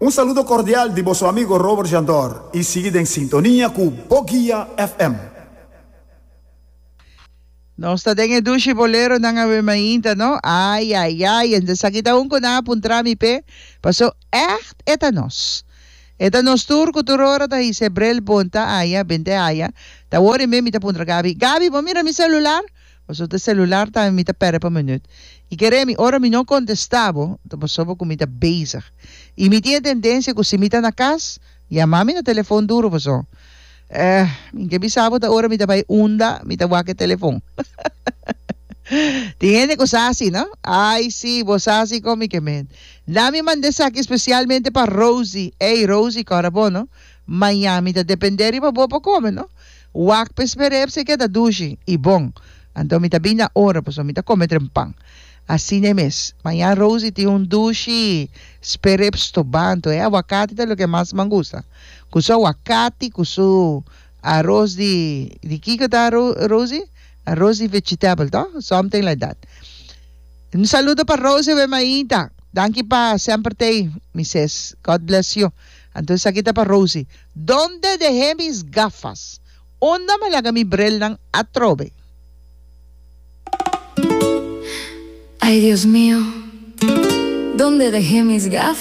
Un saludo cordial di boso amigo Robert Jandor y sigui den sintonia cu Boguia FM. Nos ta den e dushi boleronan awe mainta no? Ay ay ay, en esaki ta un cu nan a puntra mi p'e, paso echt e ta nos. E ta nos tur cu tur ora ta hisa e bril bonta aya, bente aya. Ta awor e mes mi ta puntra Gaby, Gaby bo mira mi celular? Paso ta celular tambe mi ta perde pa minuut. Y kere mi, ora mi no contesta bo, ta pasobra cu mi ta bezig. Y mi tin e tendencia cu si mi ta na cas, yama mi na telefon duro paso. Eh, mi ke bisa bo ta ora mi ta bai unda mi ta wak e telefon. Tin hende ku sa asi, no? Ai si, bo sa asi kon mi ke men. La mi manda esaki spesialmente pa Rosie. Ey, Rosie, kòrda bo, no? Mañan mi ta dependé riba bo pa kome, no? Wak pa esper'é p'esei keda dushi i bon. Anto mi ta bin na ora pasobra mi ta kome trempan. Asina e mes. Mañan Rosie tin un dushi sperep stobanto. E awakati ta loke mas man gusta. Ku su awakati, ku su aros di, di kiko ta Rosie? Aros di vegetable to? Something like that. Un saludo pa Rosie we mainta. Danki pa semper tei, mi sis. God bless you. Anto esaki ta pa Rosie. Donde dejé mis gafas? Unda mi a laga mi brelnan atrobe? Ay Dios mío, donde dejé mis gafas?